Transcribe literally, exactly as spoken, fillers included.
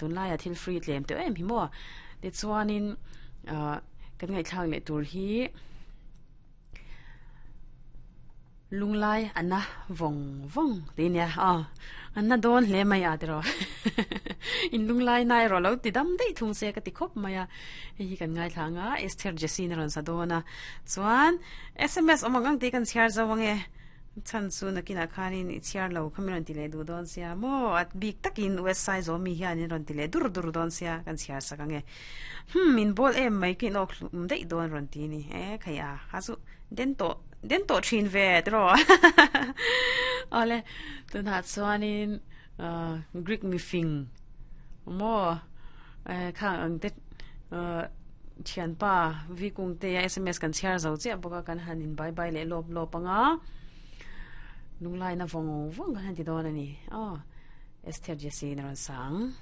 Tunlaia thil free tlem teuh em hi maw? Tichuanin ah kan ngaihthlak leh tur hi Lunglai a na vawng vawng tih nia aw a na dawn hle mai a tiraw in lunglai na erawh lo ti dam daih thung se ka ti khawp mai a hei hi kan ngaithla ang a Esther Jessie na rawn sa dawn a chuan S M S awm ang ang tih kan chhiar zo ang e chhan chu nakinah khanin i chhiar lo kha min rawn ti leh duh dawn sia maw a bik takin U S Saizawh mi hianin rawn ti leh dur dur dawn sia kan chhiar sak ang e hmm min bawl em mai ka inawk hlum daih dawn rawn ti a ni e khai a ha chu den tawh Den tawh thin ve tiraw Awle tunah chuanin Greek mifing maw khang ang te thianpa V Kungtea S M S kan chhiar zo chiah bawk a kan han in bye bye leh lawp lawp ang a lunglaina vawng vawng kan han ti dawn a ni aw Esther Jessie in a rawn sa ang.